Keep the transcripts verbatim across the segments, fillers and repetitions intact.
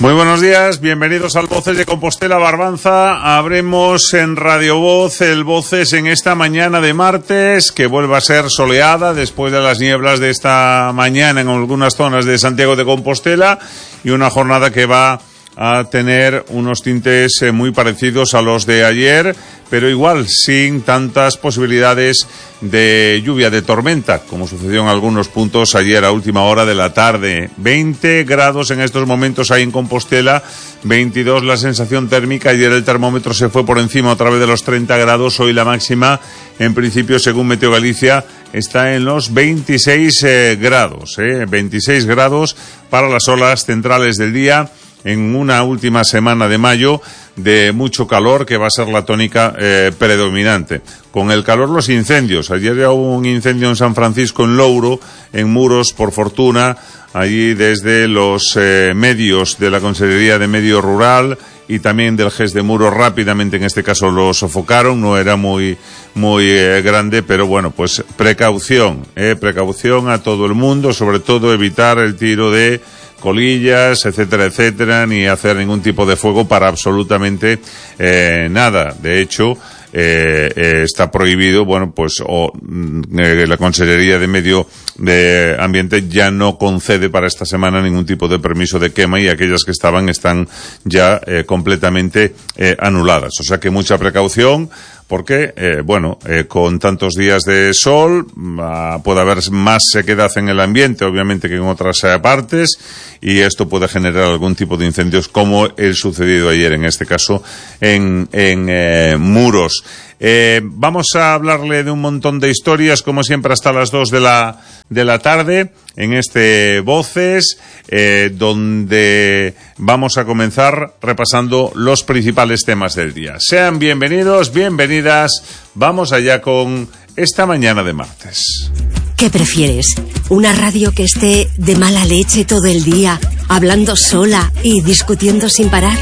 Muy buenos días, bienvenidos al Voces de Compostela Barbanza. Abremos en Radio Voz el Voces en esta mañana de martes, que vuelve a ser soleada después de las nieblas de esta mañana en algunas zonas de Santiago de Compostela, y una jornada que va a tener unos tintes muy parecidos a los de ayer, pero igual sin tantas posibilidades de lluvia, de tormenta, como sucedió en algunos puntos ayer a última hora de la tarde. veinte grados en estos momentos hay en Compostela, veintidós la sensación térmica. Ayer el termómetro se fue por encima otra vez de los treinta grados. Hoy la máxima, en principio, según Meteo Galicia, está en los veintiséis eh, grados, eh, veintiséis grados para las horas centrales del día, en una última semana de mayo de mucho calor, que va a ser la tónica eh, predominante. Con el calor, los incendios. Ayer ya hubo un incendio en San Francisco, en Louro, en Muros, por fortuna. Allí desde los eh, medios de la Consejería de Medio Rural y también del G E S de Muros rápidamente, en este caso, lo sofocaron. No era muy muy eh, grande, pero bueno, pues precaución, eh, precaución a todo el mundo, sobre todo evitar el tiro de colillas, etcétera, etcétera, ni hacer ningún tipo de fuego para absolutamente eh, nada. De hecho, eh, eh, está prohibido, bueno, pues o eh, la Consejería de Medio de Ambiente ya no concede para esta semana ningún tipo de permiso de quema, y aquellas que estaban están ya eh, completamente eh, anuladas. O sea que mucha precaución, porque, eh, bueno, eh, con tantos días de sol, uh, puede haber más sequedad en el ambiente, obviamente, que en otras eh, partes, y esto puede generar algún tipo de incendios, como el sucedido ayer, en este caso, en, en eh, Muros. Eh, vamos a hablarle de un montón de historias, como siempre, hasta las dos de la, de la tarde, en este Voces, eh, donde vamos a comenzar repasando los principales temas del día. Sean bienvenidos, bienvenidas, vamos allá con esta mañana de martes. ¿Qué prefieres? ¿Una radio que esté de mala leche todo el día, hablando sola y discutiendo sin parar?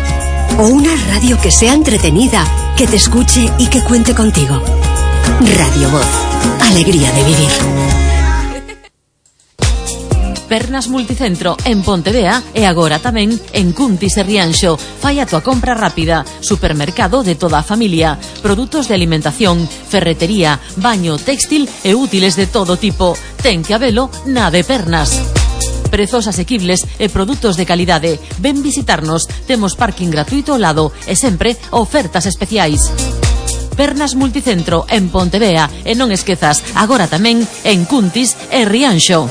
¿O una radio que sea entretenida, que te escuche y que cuente contigo? Radio Voz. Alegría de vivir. Pernas Multicentro en Pontevea e agora tamén en Cuntis e Rianxo. Fai a tua compra rápida. Supermercado de toda a familia. Produtos de alimentación, ferretería, baño, textil e útiles de todo tipo. Ten que habelo na de Pernas. Prezos asequibles e produtos de calidade. Ven visitarnos. Temos parking gratuito ao lado e sempre ofertas especiais. Pernas Multicentro en Pontevea, e non esquezas, agora tamén en Cuntis e Rianxo.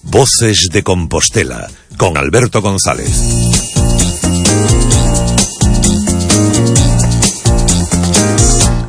Voces de Compostela, con Alberto González.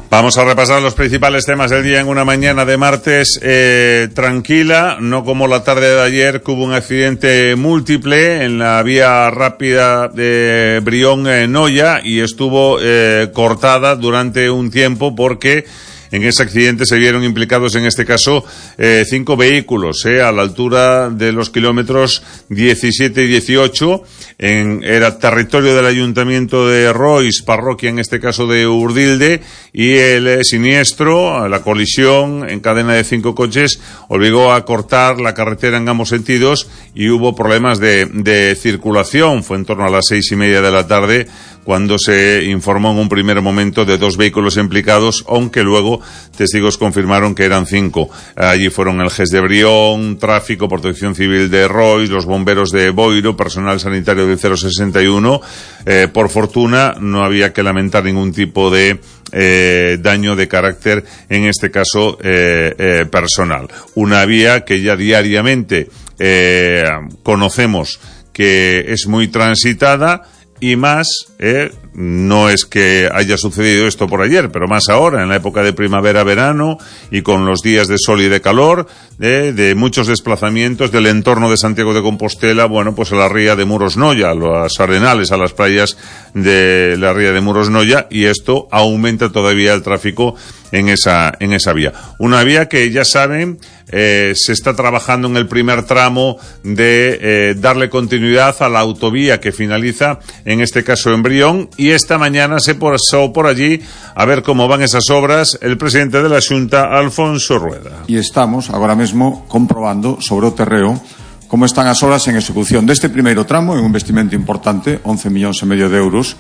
Vamos a repasar los principales temas del día en una mañana de martes eh, tranquila, no como la tarde de ayer, que hubo un accidente múltiple en la vía rápida de Brión-Noya, y estuvo eh, cortada durante un tiempo porque en ese accidente se vieron implicados, en este caso, eh, cinco vehículos, eh, a la altura de los kilómetros diecisiete y dieciocho. En, era territorio del Ayuntamiento de Rois, parroquia en este caso de Urdilde, y el eh, siniestro, la colisión en cadena de cinco coches, obligó a cortar la carretera en ambos sentidos, y hubo problemas de, de circulación. Fue en torno a las seis y media de la tarde cuando se informó en un primer momento de dos vehículos implicados, aunque luego testigos confirmaron que eran cinco. Allí fueron el G E S de Brión, Tráfico, Protección Civil de Rois, los bomberos de Boiro, personal sanitario del cero sesenta y uno. Eh, por fortuna, no había que lamentar ningún tipo de eh, daño de carácter, en este caso, eh, eh, personal. Una vía que ya diariamente eh, conocemos que es muy transitada, y más, eh, no es que haya sucedido esto por ayer, pero más ahora, en la época de primavera-verano, y con los días de sol y de calor, eh, de muchos desplazamientos del entorno de Santiago de Compostela, bueno, pues a la ría de Muros-Noya, a los arenales, a las playas de la ría de Muros-Noya, y esto aumenta todavía el tráfico en esa, en esa vía. Una vía que, ya saben, eh, se está trabajando en el primer tramo de eh, darle continuidad a la autovía que finaliza, en este caso en Brión, y y esta mañana se pasó por allí a ver cómo van esas obras el presidente de la Xunta, Alfonso Rueda. E estamos agora mesmo comprobando sobre o terreo como están as obras en execución deste primeiro tramo, en un investimento importante, once millóns e medio de euros,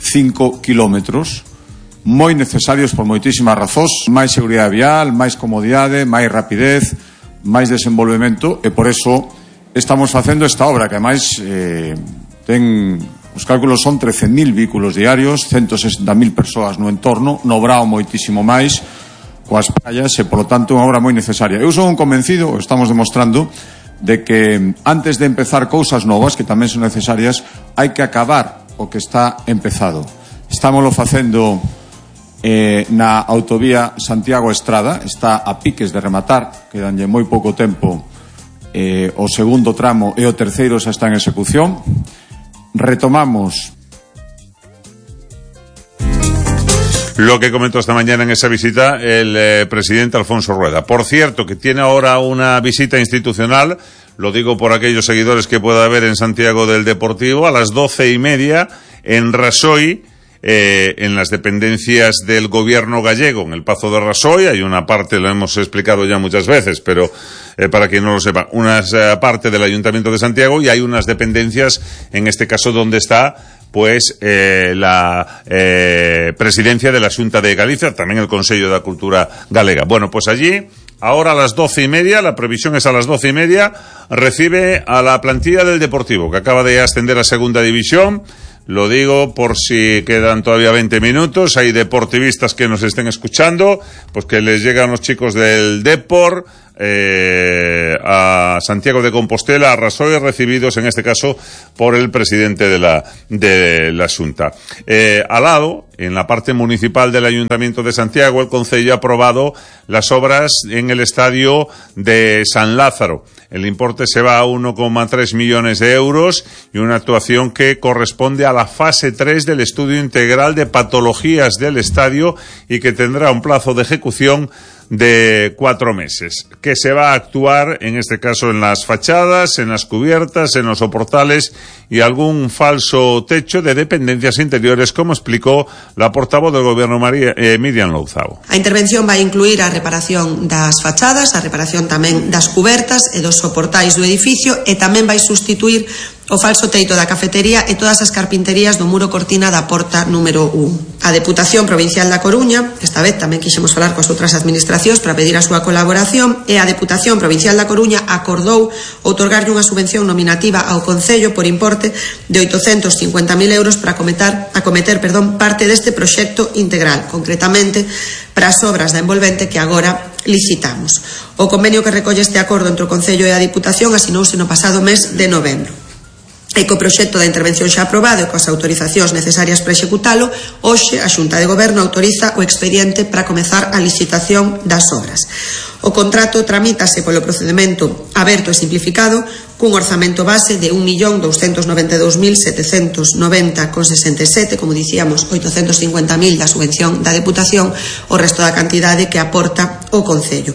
cinco kilómetros, moi necesarios por moitísimas razóns, máis seguridade vial, máis comodidade, máis rapidez, máis desenvolvemento, e por eso estamos facendo esta obra que ademais eh, ten, os cálculos son trece mil vehículos diarios, ciento sesenta mil persoas no entorno, no Brao moitísimo máis, coas praias, e polo tanto unha obra moi necesaria. Eu son un convencido, estamos demostrando, de que antes de empezar cousas novas que tamén son necesarias, hai que acabar o que está empezado. Estámoslo facendo Eh, na autovía Santiago-Estrada, está a piques de rematar, quedanlle moi pouco tempo, eh, o segundo tramo e o terceiro xa está en execución. Retomamos lo que comentó esta mañana en esa visita el eh, presidente Alfonso Rueda. Por cierto, que tiene ahora una visita institucional, lo digo por aquellos seguidores que pueda haber en Santiago del Deportivo, a las doce y media en Rasoy, Eh, en las dependencias del gobierno gallego, en el Pazo de Rasoy. Hay una parte, lo hemos explicado ya muchas veces, pero eh, para quien no lo sepa, una eh, parte del Ayuntamiento de Santiago, y hay unas dependencias, en este caso donde está pues eh, la eh, presidencia de la Xunta de Galicia, también el Consello de la Cultura Galega. Bueno, pues allí, ahora a las doce y media, la previsión es a las doce y media, recibe a la plantilla del Deportivo, que acaba de ascender a Segunda División. Lo digo por si quedan todavía veinte minutos, hay deportivistas que nos estén escuchando, pues que les llegan los chicos del Depor eh, a Santiago de Compostela, a Rasoy, recibidos en este caso por el presidente de la de la Xunta. Eh, al lado, en la parte municipal del Ayuntamiento de Santiago, el Concello ha aprobado las obras en el estadio de San Lázaro. El importe se va a uno coma tres millones de euros y una actuación que corresponde a la fase tres del estudio integral de patologías del estadio y que tendrá un plazo de ejecución de cuatro meses, que se va a actuar en este caso en las fachadas, en las cubiertas, en los soportales y algún falso techo de dependencias interiores, como explicó la portavoz del Gobierno, María, eh, Miriam Louzao. A intervención vai incluir a reparación das fachadas, a reparación tamén das cubertas e dos soportais do edificio, e tamén vai sustituir o falso teito da cafetería e todas as carpinterías do muro cortina da porta número un. A Deputación Provincial da Coruña, esta vez tamén quixemos falar coas outras administracións para pedir a súa colaboración, e a Deputación Provincial da Coruña acordou outorgarlle unha subvención nominativa ao Concello por importe de oitocentos cincuenta mil euros para acometer, acometer perdón, parte deste proxecto integral, concretamente para as obras da envolvente que agora licitamos. O convenio que recolle este acordo entre o Concello e a Deputación asinouse no pasado mes de novembro. E co proxecto da intervención xa aprobado e coas autorizacións necesarias para executalo, hoxe a Xunta de Goberno autoriza o expediente para comezar a licitación das obras. O contrato tramítase polo procedemento aberto e simplificado cun orzamento base de un millón douscentos noventa e dous mil setecentos noventa con sesenta e sete, como dicíamos, oitocentos cincuenta mil da subvención da Deputación, o resto da cantidade que aporta o Concello.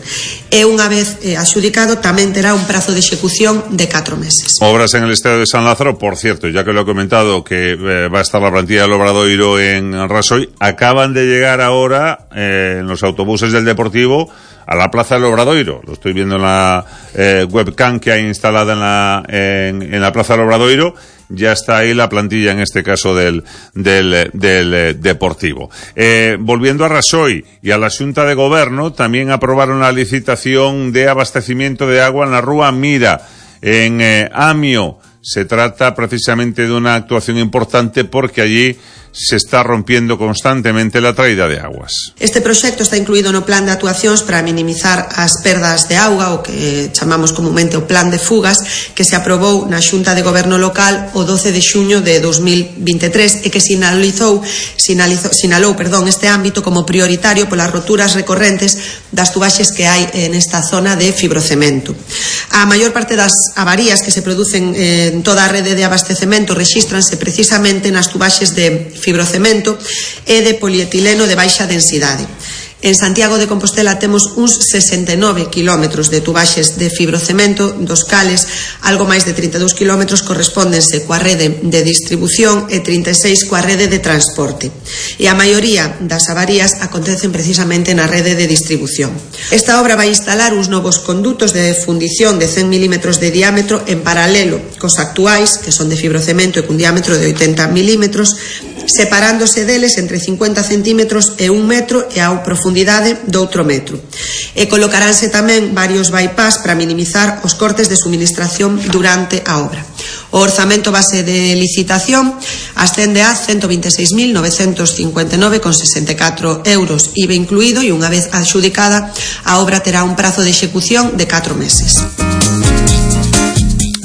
E unha vez eh, adxudicado tamén terá un prazo de execución de catro meses. Obras en el estadio de San Lázaro, por cierto, ya que lo he comentado que eh, va a estar la plantilla del Obradoiro en Rasoy, acaban de llegar ahora eh, en los autobuses del Deportivo a la Plaza del Obradoiro. Lo estoy viendo en la eh, webcam que hay instalada en la, en, en la Plaza del Obradoiro. Ya está ahí la plantilla, en este caso del, del, del eh, Deportivo. Eh, volviendo a Rasoy y a la Xunta de Goberno, también aprobaron la licitación de abastecimiento de agua en la Rúa Mira, en eh, Amio. Se trata precisamente de una actuación importante porque allí se está rompiendo constantemente la traída de aguas. Este proxecto está incluído no plan de actuacións para minimizar as perdas de auga, o que chamamos comumente o plan de fugas, que se aprobou na Xunta de Goberno local o doce de xuño de dos mil vinte e tres e que sinalizou, sinalizou, sinalou perdón, este ámbito como prioritario polas roturas recorrentes das tubaxes que hai nesta zona de fibrocemento. A maior parte das avarías que se producen en toda a rede de abastecemento rexístranse precisamente nas tubaxes de fibrocemento e de polietileno de baixa densidade. En Santiago de Compostela temos uns sesenta e nove quilómetros de tubaxes de fibrocemento, dos cales algo máis de trinta e dous quilómetros correspóndense coa rede de distribución e trinta e seis coa rede de transporte. E a maioría das avarías acontecen precisamente na rede de distribución. Esta obra vai instalar uns novos condutos de fundición de cen milímetros de diámetro en paralelo cos actuais, que son de fibrocemento e cun diámetro de oitenta milímetros, separándose deles entre cincuenta centímetros e un metro e a profundidade do outro metro. E colocaránse tamén varios bypass para minimizar os cortes de suministración durante a obra. O orzamento base de licitación ascende a ciento vinte e seis mil novecentos cincuenta e nove coma sesenta e catro euros I V A incluído, e unha vez adxudicada a obra terá un prazo de execución de catro meses.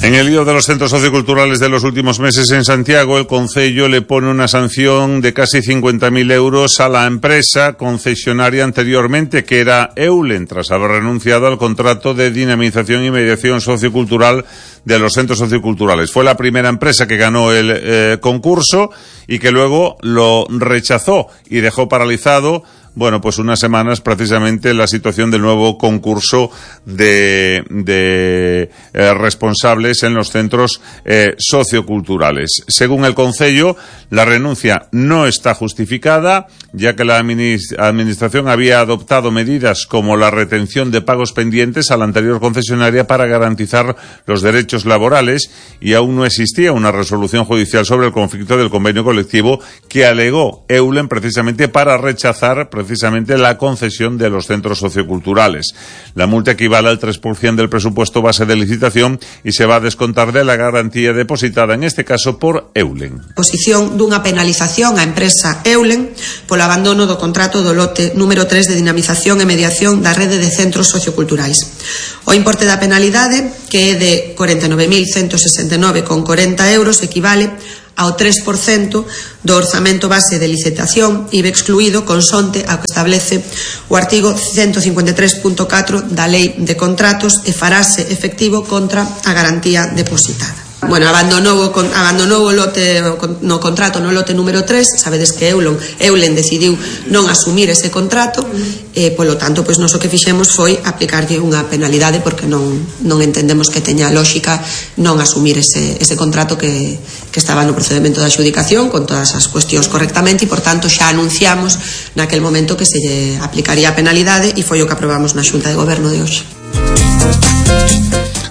En el lío de los centros socioculturales de los últimos meses en Santiago, el Concello le pone una sanción de casi cincuenta mil euros a la empresa concesionaria anteriormente, que era Eulen, tras haber renunciado al contrato de dinamización y mediación sociocultural de los centros socioculturales. Fue la primera empresa que ganó el eh, concurso y que luego lo rechazó y dejó paralizado, bueno, pues unas semanas precisamente la situación del nuevo concurso de, de eh, responsables en los centros eh, socioculturales. Según el Concello, la renuncia no está justificada, ya que la administración había adoptado medidas como la retención de pagos pendientes a la anterior concesionaria para garantizar los derechos laborales, y aún no existía una resolución judicial sobre el conflicto del convenio colectivo que alegó Eulen precisamente para rechazar precisamente la concesión de los centros socioculturales. La multa equivale al tres por ciento del presupuesto base de licitación y se va a descontar de la garantía depositada, en este caso por Eulen. Posición dunha penalización á empresa Eulen polo abandono do contrato do lote número tres de dinamización e mediación da rede de centros socioculturais. O importe da penalidade, que é de corenta e nove mil ciento sesenta e nove coma corenta euros, equivale ao tres por ciento do orzamento base de licitación I V A excluído, consonte ao que establece o artigo ciento cincuenta e tres punto catro da Lei de Contratos, e farase efectivo contra a garantía depositada. Bueno, abandonou, abandonou o lote no contrato no lote número tres. Sabedes que Eulen, Eulen decidiu non asumir ese contrato, e polo tanto, pois nós o que fixemos foi aplicarlle unha penalidade, porque non, non entendemos que teña lógica non asumir ese, ese contrato que, que estaba no procedimento de adxudicación con todas as cuestións correctamente, e por tanto xa anunciamos naquel momento que se lle aplicaría a penalidade, e foi o que aprobamos na Xunta de Goberno de hoxe.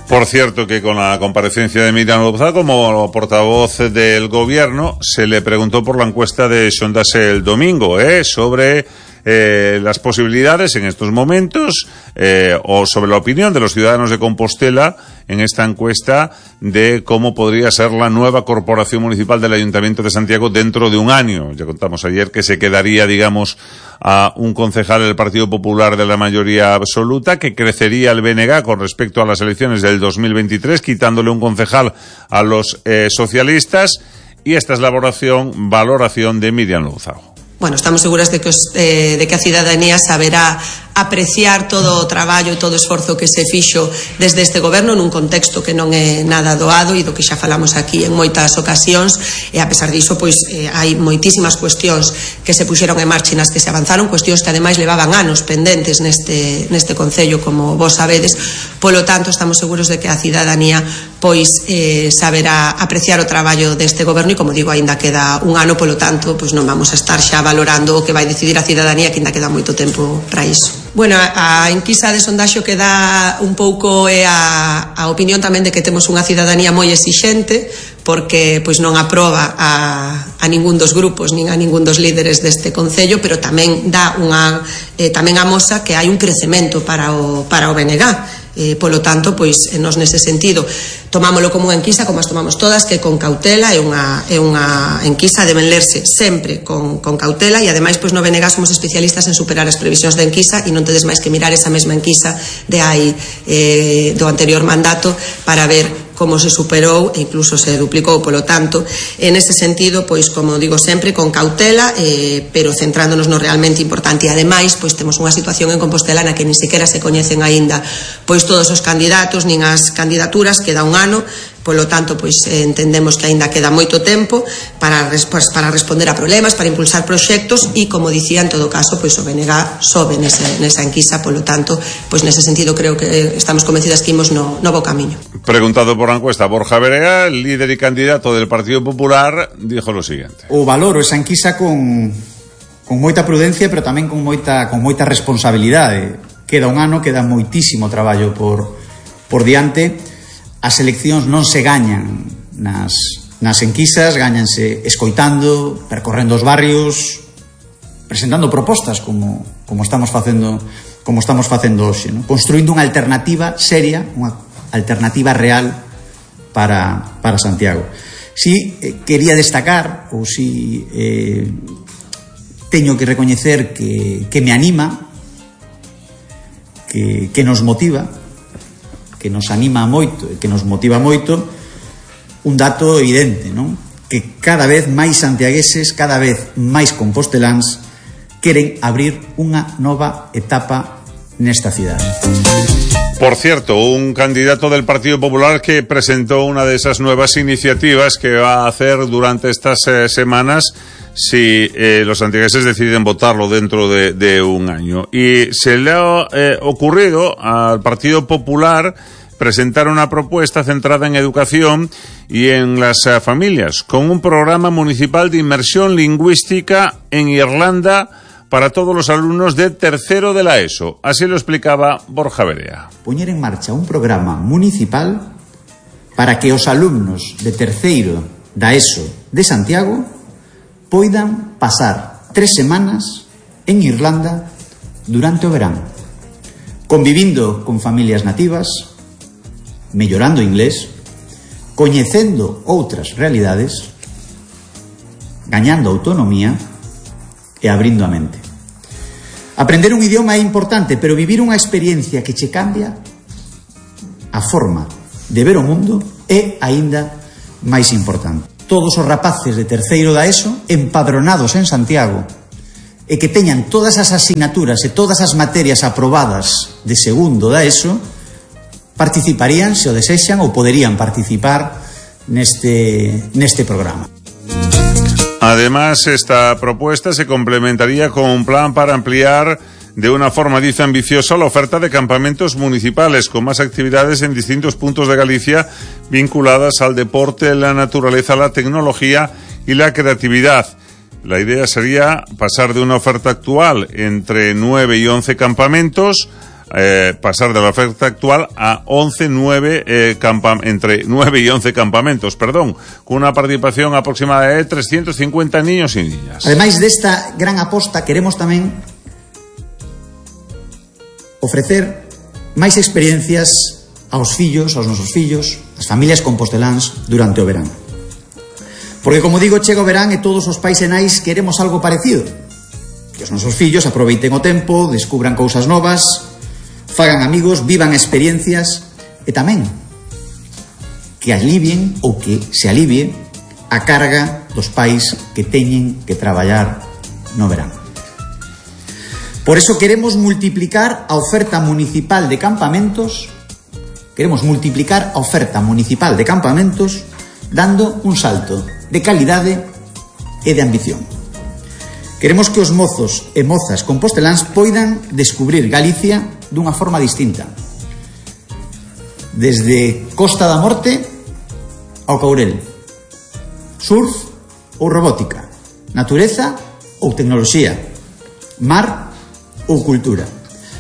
Por cierto, que con la comparecencia de Miriam López como portavoz del gobierno, se le preguntó por la encuesta de Sondase el domingo, ¿eh? sobre eh, las posibilidades en estos momentos, eh, o sobre la opinión de los ciudadanos de Compostela en esta encuesta de cómo podría ser la nueva corporación municipal del Ayuntamiento de Santiago dentro de un año. Ya contamos ayer que se quedaría, digamos, a un concejal del Partido Popular de la mayoría absoluta, que crecería el B N G con respecto a las elecciones del dos mil veintitrés, quitándole un concejal a los eh, socialistas, y esta es la valoración, valoración de Miriam Luzago. Bueno, estamos seguras de que, os, eh, de que a cidadanía saberá apreciar todo o traballo e todo o esforzo que se fixo desde este goberno nun contexto que non é nada doado e do que xa falamos aquí en moitas ocasións, e a pesar diso, pois eh, hai moitísimas cuestións que se puxeron en marcha e nas que se avanzaron, cuestións que ademais levaban anos pendentes neste, neste concello, como vos sabedes. Polo tanto, estamos seguros de que a cidadanía pois eh, saberá apreciar o traballo deste goberno, e como digo, aínda queda un ano, polo tanto, pois non vamos a estar xa valorando o que vai decidir a cidadanía, que aínda queda moito tempo para iso. Bueno, a enquisa de sondaxo que dá un pouco é a, a opinión tamén de que temos unha cidadanía moi exixente, porque pois non aproba a, a ningún dos grupos nin a ningún dos líderes deste concello, pero tamén dá unha eh, tamén amosa que hai un crecemento para o, para o B N G. Eh, polo tanto, pois nos nese sentido tomámolo como unha enquisa, como as tomamos todas, que con cautela, é unha, é unha enquisa, deben lerse sempre con, con cautela, e ademais pois no B N G somos especialistas en superar as previsións da enquisa, e non tedes máis que mirar esa mesma enquisa de hai eh, do anterior mandato para ver como se superou e incluso se duplicou. Polo tanto, en ese sentido, pois como digo sempre, con cautela, eh, pero centrándonos no realmente importante. E ademais, pois temos unha situación en Compostela na que ni sequera se coñecen aínda pois todos os candidatos nin as candidaturas, queda un ano. Polo tanto, pois entendemos que aínda queda moito tempo para, pues, para responder a problemas, para impulsar proxectos e, como dicía, en todo caso, pois o B N G sobe nese, nesa enquisa. Polo tanto, pois nese sentido creo que estamos convencidas que imos no, no bo camiño. Preguntado por la encuesta, Borja Verea, el líder y candidato del Partido Popular, dijo lo siguiente: o valoro esa enquisa con, con moita prudencia, pero tamén con moita, con moita responsabilidade. Queda un ano, queda moitísimo traballo por, por diante. As eleccións non se gañan nas, nas enquisas, gañanse escoitando, percorrendo os barrios, presentando propostas como, como estamos facendo como estamos facendo hoxe, ¿no? Construindo unha alternativa seria, unha alternativa real para, para Santiago. Si eh, quería destacar, ou si eh, teño que recoñecer que, que me anima, que, que nos motiva, que nos anima moito e que nos motiva moito, un dato evidente, non? Que cada vez máis santiagueses, cada vez máis composteláns queren abrir unha nova etapa nesta cidade. Por cierto, un candidato del Partido Popular que presentó una de esas nuevas iniciativas que va a hacer durante estas eh, semanas si eh, los santiagueses deciden votarlo dentro de, de un año. Y se le ha eh, ocurrido al Partido Popular presentar una propuesta centrada en educación y en las eh, familias, con un programa municipal de inmersión lingüística en Irlanda para todos los alumnos de tercero de la ESO. Así lo explicaba Borja Verea. Poñer en marcha un programa municipal para que os alumnos de terceiro da ESO de Santiago poidan pasar tres semanas en Irlanda durante o verán, convivindo con familias nativas, mellorando inglés, coñecendo outras realidades, gañando autonomía e abrindo a mente. Aprender un idioma é importante, pero vivir unha experiencia que che cambia a forma de ver o mundo é aínda máis importante. Todos os rapaces de terceiro da ESO empadronados en Santiago e que teñan todas as asignaturas e todas as materias aprobadas de segundo da ESO participarían, se o desexan, ou poderían participar neste, neste programa. Además, esta propuesta se complementaría con un plan para ampliar de una forma, dice, ambiciosa la oferta de campamentos municipales con más actividades en distintos puntos de Galicia vinculadas al deporte, la naturaleza, la tecnología y la creatividad. La idea sería pasar de una oferta actual entre nueve y once campamentos, eh, pasar de la oferta actual a once, nueve, eh, campa- entre nueve y once campamentos, perdón, con una participación aproximada de trescientos cincuenta niños y niñas. Ademais desta gran aposta, queremos tamén ofrecer máis experiencias aos fillos, aos nosos fillos, as familias composteláns durante o verán. Porque, como digo, chega o verán e todos os pais e nais queremos algo parecido. Que os nosos fillos aproveiten o tempo, descubran cousas novas, fagan amigos, vivan experiencias e tamén que alivien ou que se alivie a carga dos pais que teñen que traballar no verán. Por eso queremos multiplicar a oferta municipal de campamentos, queremos multiplicar a oferta municipal de campamentos dando un salto de calidade e de ambición. Queremos que os mozos e mozas composteláns poidan descubrir Galicia dunha forma distinta. Desde Costa da Morte ao Courel, surf ou robótica, natureza ou tecnoloxía, mar ou cultura,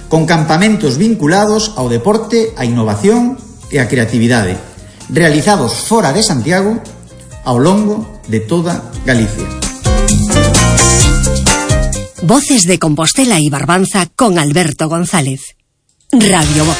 con campamentos vinculados ao deporte, á innovación e á creatividade, realizados fora de Santiago ao longo de toda Galicia. Voces de Compostela y Barbanza con Alberto González. Radio Voz.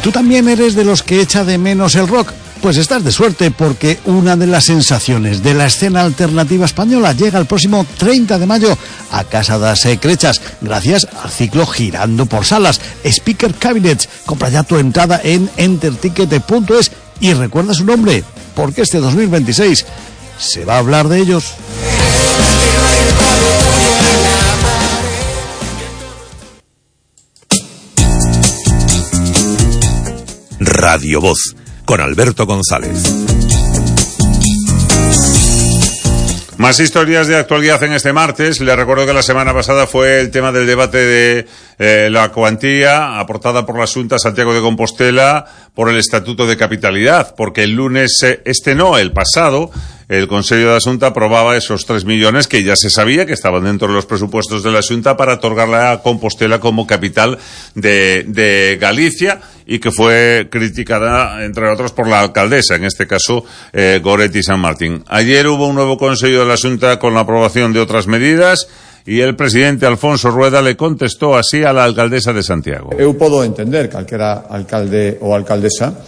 ¿Tú también eres de los que echa de menos el rock? Pues estás de suerte, porque una de las sensaciones de la escena alternativa española llega el próximo treinta de mayo a Casa das Crechas, gracias al ciclo Girando por Salas, Speaker Cabinets. Compra ya tu entrada en enterticket punto es y recuerda su nombre, porque este dos mil veintiséis se va a hablar de ellos. Radio Voz, con Alberto González. Más historias de actualidad en este martes. Les recuerdo que la semana pasada fue el tema del debate de eh, la cuantía aportada por la Xunta Santiago de Compostela por el Estatuto de Capitalidad, porque el lunes, eh, este no, el pasado, el Consello de la Xunta aprobaba esos tres millones que ya se sabía que estaban dentro de los presupuestos de la Xunta para otorgarle a Compostela como capital de, de Galicia, y que fue criticada, entre otros, por la alcaldesa, en este caso, eh, Goretti San Martín. Ayer hubo un nuevo Consello de la Xunta con la aprobación de otras medidas, y el presidente Alfonso Rueda le contestó así a la alcaldesa de Santiago. Eu podo entender que calquera alcalde ou alcaldesa,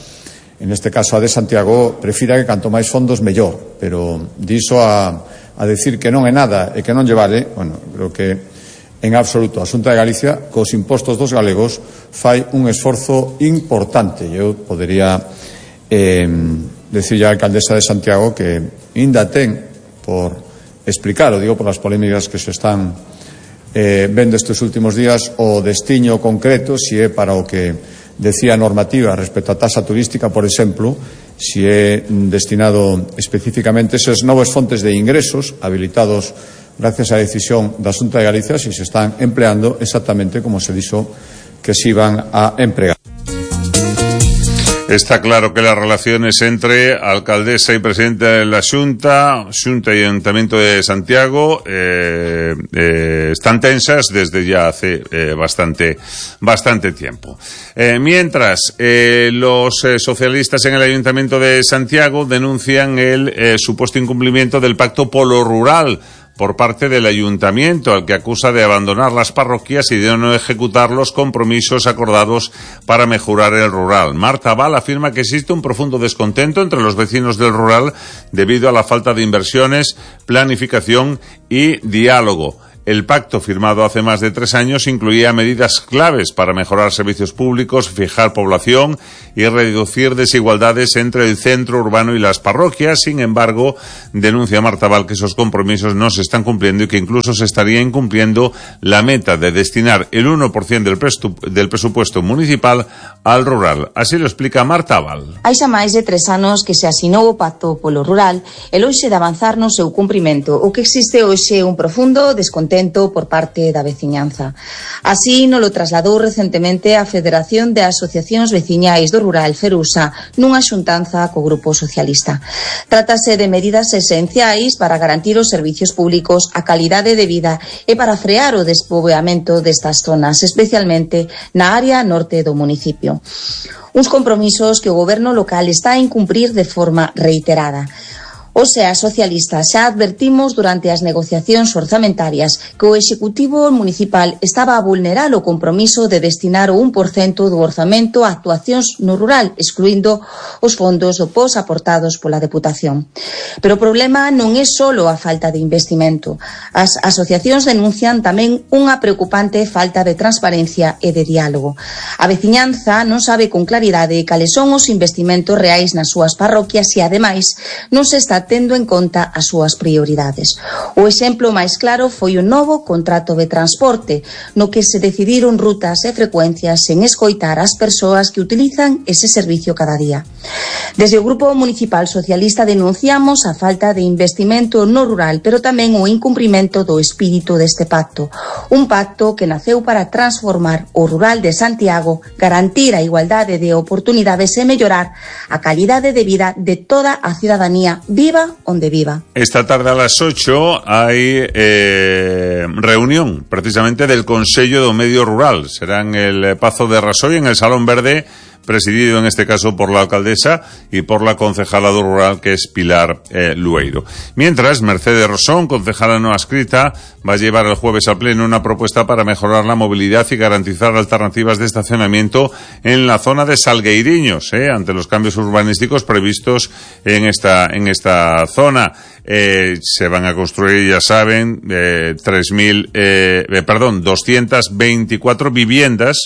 en este caso a de Santiago, prefira que canto máis fondos mellor, pero diso a, a decir que non é nada e que non lle vale, bueno, creo que en absoluto a Xunta de Galicia cos impostos dos galegos fai un esforzo importante. Eu podería eh, decirle á alcaldesa de Santiago que ainda ten por explicar, o digo por as polémicas que se están eh, vendo estes últimos días, o destiño concreto, si é para o que decía a normativa respecto á taxa turística, por exemplo, si é destinado especificamente eses novos fontes de ingresos habilitados gracias á decisión da Xunta de Galicia, si se están empleando exactamente como se dixo que se iban a empregar. Está claro que las relaciones entre alcaldesa y presidente de la Xunta, Xunta y Ayuntamiento de Santiago, eh, eh, están tensas desde ya hace eh, bastante, bastante tiempo. Eh, mientras, eh, los eh, socialistas en el Ayuntamiento de Santiago denuncian el eh, supuesto incumplimiento del Pacto Polo Rural por parte del ayuntamiento, al que acusa de abandonar las parroquias y de no ejecutar los compromisos acordados para mejorar el rural. Marta Val afirma que existe un profundo descontento entre los vecinos del rural debido a la falta de inversiones, planificación y diálogo. El pacto, firmado hace más de tres años, incluía medidas claves para mejorar servicios públicos, fijar población y reducir desigualdades entre el centro urbano y las parroquias. Sin embargo, denuncia Marta Val que esos compromisos no se están cumpliendo y que incluso se estaría incumpliendo la meta de destinar el uno por ciento del, presu- del presupuesto municipal al rural. Así lo explica Marta Val. Hai xa máis de tres anos que se asinou o Pacto polo Rural e lonxe de avanzar no seu cumprimento, o que existe hoxe un profundo descontento por parte da veciñanza. Así nos lo trasladou recentemente a Federación de Asociacións Veciñais do Rural, Ferusa, nunha xuntanza co Grupo Socialista. Trátase de medidas esenciais para garantir os servicios públicos, a calidade de vida e para frear o despoboamento destas zonas, especialmente na área norte do municipio. Uns compromisos que o goberno local está a incumprir de forma reiterada. O sea, socialistas, xa advertimos durante as negociacións orzamentarias que o Executivo Municipal estaba a vulnerar o compromiso de destinar o un por cento do orzamento a actuacións no rural, excluindo os fondos do P O S aportados pola Deputación. Pero o problema non é só a falta de investimento. As asociacións denuncian tamén unha preocupante falta de transparencia e de diálogo. A veciñanza non sabe con claridade cales son os investimentos reais nas súas parroquias e, ademais, non se está tendo en conta as súas prioridades. O exemplo máis claro foi o novo contrato de transporte, no que se decidiron rutas e frecuencias sen escoitar as persoas que utilizan ese servicio cada día. Desde o Grupo Municipal Socialista denunciamos a falta de investimento no rural, pero tamén o incumprimento do espírito deste pacto. Un pacto que naceu para transformar o rural de Santiago, garantir a igualdade de oportunidades e mellorar a calidade de vida de toda a cidadanía, viva onde viva. Esta tarde a las ocho hay eh, reunión precisamente del Consello do Medio Rural. Será en el Pazo de Rasoy, en el Salón Verde, presidido en este caso por la alcaldesa y por la concejala rural, que es Pilar eh, Lueiro. Mientras, Mercedes Rosón, concejala no adscrita, va a llevar el jueves al Pleno una propuesta para mejorar la movilidad y garantizar alternativas de estacionamiento en la zona de Salgueiriños, eh, ante los cambios urbanísticos previstos en esta, en esta zona. Eh, se van a construir, ya saben, eh, tres mil, eh, eh, perdón, doscientas veinticuatro viviendas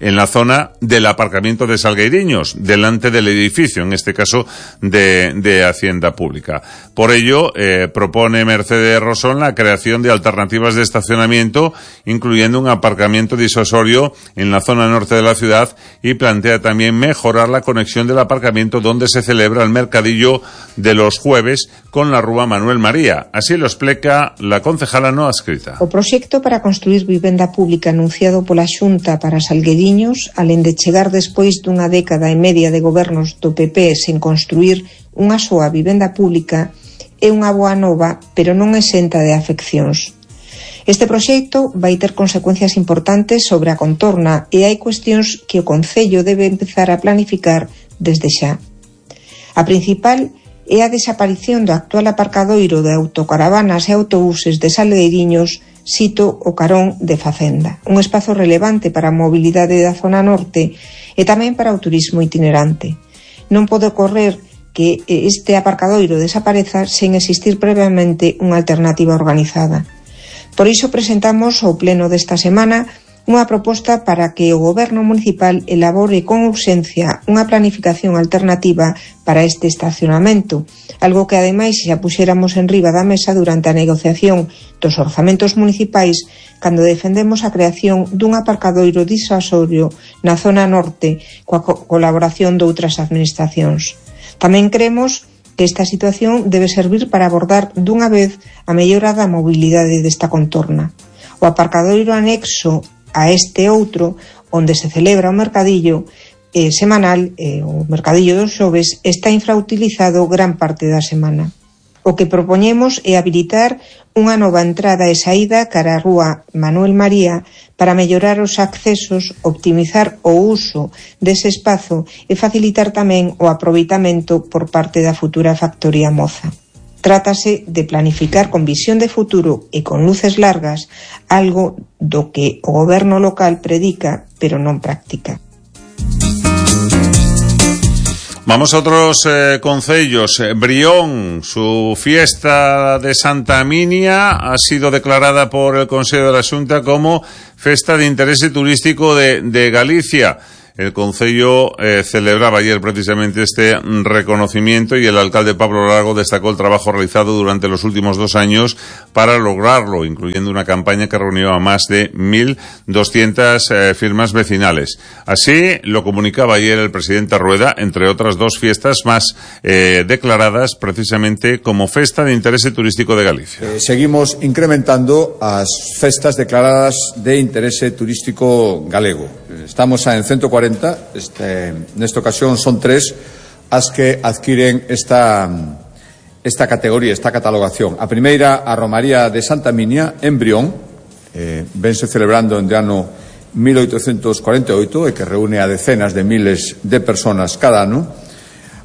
en la zona del aparcamiento de Salgueiriños, delante del edificio, en este caso de, de Hacienda Pública. Por ello, eh, propone Mercedes Rosón la creación de alternativas de estacionamiento, incluyendo un aparcamiento disuasorio en la zona norte de la ciudad, y plantea también mejorar la conexión del aparcamiento donde se celebra el mercadillo de los jueves con la Rúa Manuel María. Así lo explica la concejala no adscrita. O proxecto para construir vivenda pública anunciado pola Xunta para Salgueiriños, alén de chegar despois dunha década e media de gobernos do P P sen construir unha soa vivenda pública, é unha boa nova, pero non exenta de afeccións. Este proxecto vai ter consecuencias importantes sobre a contorna e hai cuestións que o Concello debe empezar a planificar desde xa. A principal é a desaparición do actual aparcadoiro de autocaravanas e autobuses de Salgueiriños, sito o carón de Facenda, un espazo relevante para a mobilidade da zona norte e tamén para o turismo itinerante. Non pode ocorrer que este aparcadoiro desapareza sen existir previamente unha alternativa organizada. Por iso presentamos ao pleno desta semana unha proposta para que o Goberno municipal elabore con urxencia unha planificación alternativa para este estacionamento, algo que ademais xa puxéramos en riba da mesa durante a negociación dos orzamentos municipais cando defendemos a creación dun aparcadoiro disuasorio na zona norte coa co- colaboración de outras administracións. Tamén cremos que esta situación debe servir para abordar dunha vez a mellora da mobilidade desta contorna. O aparcadoiro anexo a este outro, onde se celebra o mercadillo eh, semanal, eh, o mercadillo dos xoves, está infrautilizado gran parte da semana. O que propoñemos é habilitar unha nova entrada e saída cara a Rúa Manuel María para mellorar os accesos, optimizar o uso dese espazo e facilitar tamén o aproveitamento por parte da futura factoría Moza. Trátase de planificar con visión de futuro e con luces largas algo do que o goberno local predica, pero non practica. Vamos a otros eh, concellos. Brión, su fiesta de Santa Minia ha sido declarada por el Consejo de la Xunta como Festa de Interés Turístico de, de Galicia. El Concello eh, celebraba ayer precisamente este reconocimiento y el alcalde Pablo Lago destacó el trabajo realizado durante los últimos dos años para lograrlo, incluyendo una campaña que reunió a más de mil doscientas eh, firmas vecinales. Así lo comunicaba ayer el presidente Rueda, entre otras dos fiestas más eh, declaradas precisamente como Festa de Interés Turístico de Galicia. Eh, seguimos incrementando as festas declaradas de interese turístico galego. Estamos en ciento cuarenta, este, nesta ocasión son tres as que adquiren esta, esta categoría, esta catalogación. A primeira, a Romaría de Santa Minia, en Brión, eh, vense celebrando en de ano mil oitocentos cuarenta e oito e que reúne a decenas de miles de personas cada ano.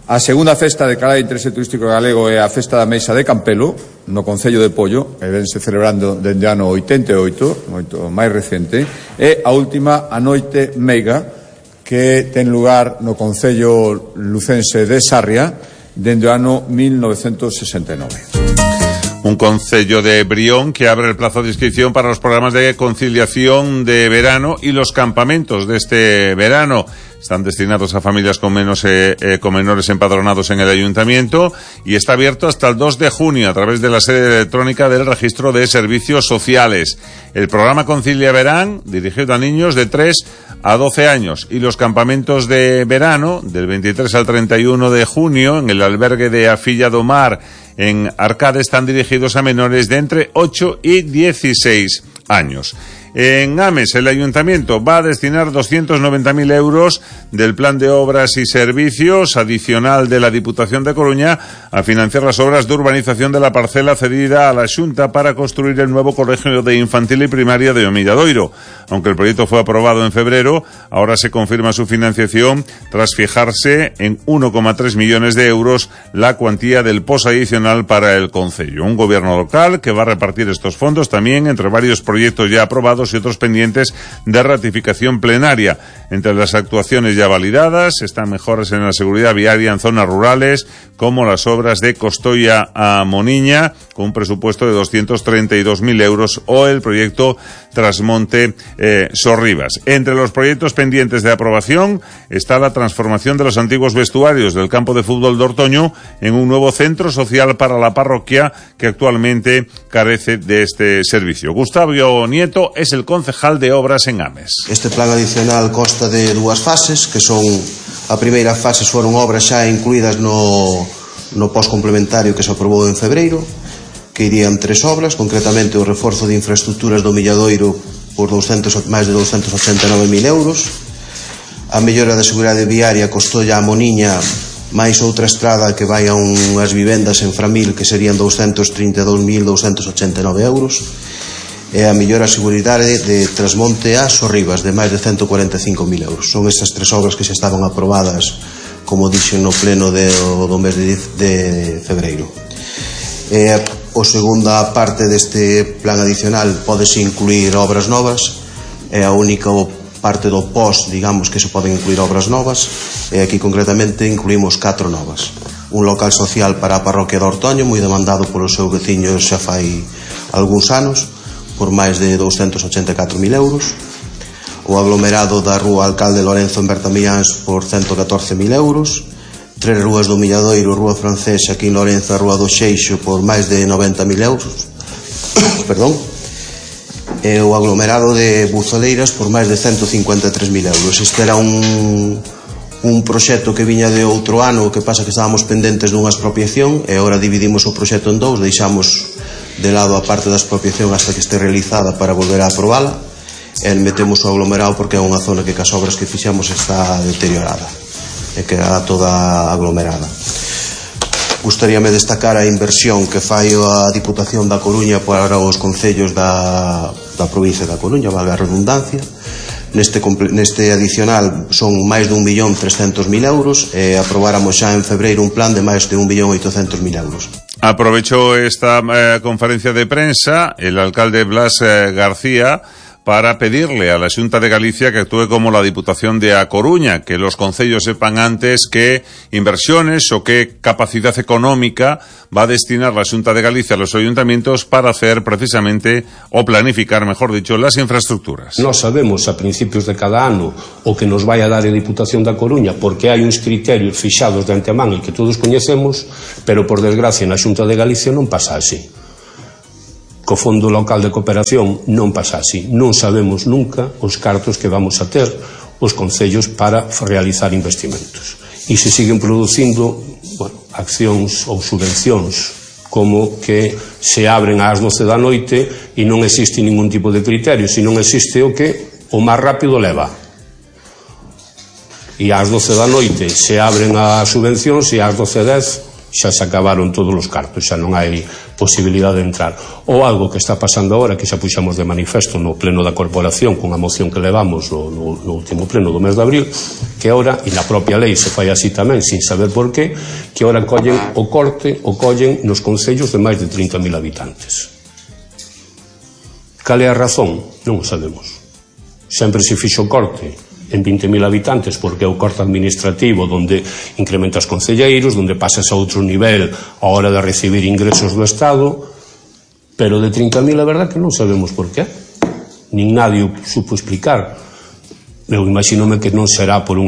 A segunda festa declarada de interese turístico galego é a Festa da Meixa de Campelo, no Concello de Pollo, e vense celebrando dende ano oitenta e oito, moito máis recente, e a última, a Noite Meiga, que ten lugar no Concello lucense de Sarria, dende o ano mil novecentos sesenta e nove. Un concello de Brión que abre el plazo de inscripción para los programas de conciliación de verano y los campamentos de este verano. Están destinados a familias con, menos, eh, eh, con menores empadronados en el ayuntamiento y está abierto hasta el dos de junio a través de la sede electrónica del Registro de Servicios Sociales. El programa Concilia Verán, dirigido a niños de tres a doce años, y los campamentos de verano del veintitrés al treinta y uno de junio en el albergue de Afilla do Mar en Arcade están dirigidos a menores de entre ocho y dieciséis años. En Ames, el Ayuntamiento va a destinar doscientos noventa mil euros del Plan de Obras y Servicios adicional de la Diputación de Coruña a financiar las obras de urbanización de la parcela cedida a la Xunta para construir el nuevo colegio de infantil y primaria de Omilladoiro. Aunque el proyecto fue aprobado en febrero, ahora se confirma su financiación tras fijarse en uno coma tres millones de euros la cuantía del pos adicional para el concello. Un gobierno local que va a repartir estos fondos también entre varios proyectos ya aprobados y otros pendientes de ratificación plenaria. Entre las actuaciones ya validadas están mejoras en la seguridad viaria en zonas rurales, como las obras de Costoia a Moniña, con un presupuesto de doscientos treinta y dos mil euros, o el proyecto Trasmonte eh, Sorribas. Entre los proyectos pendientes de aprobación está la transformación de los antiguos vestuarios del campo de fútbol de Ortoño en un nuevo centro social para la parroquia que actualmente carece de este servicio. Gustavo Nieto es el concejal de obras en Ames. Este plan adicional consta de dúas fases, que son a primeira fase foron obras xa incluídas no, no pos complementario que se aprobou en febreiro, que irían tres obras, concretamente o reforzo de infraestructuras do Milladoiro por doscientos, máis de doscientos ochenta e nove mil euros, a mellora da seguridade viaria Costoia a Moniña, máis outra estrada que vai a unhas vivendas en Framil que serían doscientos trinta e dous mil doscientos ochenta e nove euros, e a mellora a seguridade de Trasmonte a Sorribas de máis de ciento cuarenta e cinco mil euros. Son estas tres obras que xa estaban aprobadas, como dixen no pleno de, do mes de, de febreiro. E a segunda parte deste plan adicional pódese incluir obras novas, é a única parte do pos, digamos, que se poden incluir obras novas, e aquí concretamente incluímos catro novas. Un local social para a parroquia de Ortoño, moi demandado polos seus veciños xa fai algúns anos, por máis de doscientos ochenta e catro mil euros, o aglomerado da rúa Alcalde Lorenzo en Bertamiáns por ciento catorce mil euros, tres rúas do Milladoiro, Rúa Francesa aquí en Lorenzo, a Rúa do Xeixo por máis de noventa mil euros, perdón, e o aglomerado de Buzoleiras por máis de ciento cincuenta e tres mil euros. Este era un, un proxecto que viña de outro ano, que pasa que estábamos pendentes dunha expropiación e agora dividimos o proxecto en dous, deixamos de lado a parte da expropiación hasta que este realizada para volver a aprobala, e metemos o aglomerado porque é unha zona que cas obras que fixamos está deteriorada e queda toda aglomerada. Gustaríame destacar a inversión que fai a Diputación da Coruña para os concellos da, da provincia da Coruña, valga a redundancia. Neste, neste adicional son máis de un millón trescentos mil euros e aprobáramos xa en febreiro un plan de máis de un millón oitocentos mil euros. Aprovechó esta eh, conferencia de prensa el alcalde Blas eh, García para pedirle a la Xunta de Galicia que actúe como la Diputación de A Coruña, que los concellos sepan antes qué inversiones o qué capacidad económica va a destinar la Xunta de Galicia a los ayuntamientos para hacer precisamente, o planificar, mejor dicho, las infraestructuras. Nós sabemos a principios de cada ano o que nos vai a dar a Diputación da Coruña, porque hai uns criterios fixados de antemán e que todos coñecemos, pero por desgracia na Xunta de Galicia non pasa así. Co Fondo Local de Cooperación non pasa así. Non sabemos nunca os cartos que vamos a ter os concellos para realizar investimentos. E se siguen producindo, bueno, accións ou subvencións como que se abren ás doce da noite e non existe ningún tipo de criterio, se non existe o que o máis rápido leva. E ás doce da noite se abren as subvencións e ás doce e dez xa se acabaron todos os cartos, xa non hai posibilidade de entrar. Ou algo que está pasando agora, que xa puxamos de manifesto no pleno da corporación con a moción que levamos no, no, no último pleno do mes de abril, que ahora, e na propia lei se fai así tamén, sin saber por qué, que ahora collen o corte, o collen nos concellos de máis de trinta mil habitantes. Cal é a razón? Non o sabemos. Sempre se fixo corte en vinte mil habitantes porque é o corte administrativo onde incrementas concelleiros, onde pasas a outro nivel a hora de recibir ingresos do Estado, pero de trinta mil a verdad que non sabemos por qué, nin nadie o supo explicar. Eu imagínome que non será por unha